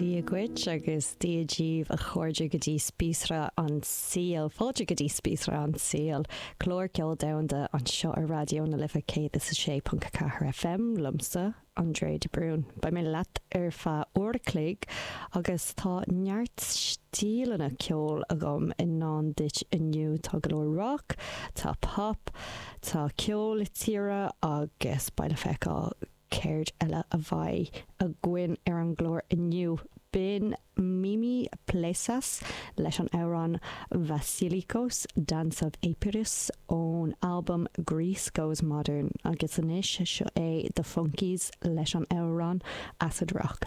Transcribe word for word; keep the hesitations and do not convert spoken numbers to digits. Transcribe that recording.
Dia dhuit agus Dia daoibh a chairde go dtí Spíosra an tSaoil, fáilte go dtí Spíosra an tSaoil, clár ceol domhanda anseo ar Raidió na Life céad is a sé ponc ceathair FM liomsa André de Brún. Beidh mé leat ar feadh uair a chloig agus tá neart stíleanna ceoil agam i ndán duit inniu tá go leor rock, tá pop, tá ceol tíre agus beidh le feiceáil céard eile a bheidh againn ar an gclár inniu. B'in Mimi Plessas leis an amhrán Vasilikos Dance of Epirus ón albam Greece Goes Modern agus anois seo é The Funkies leis an amhrán Acid Rock.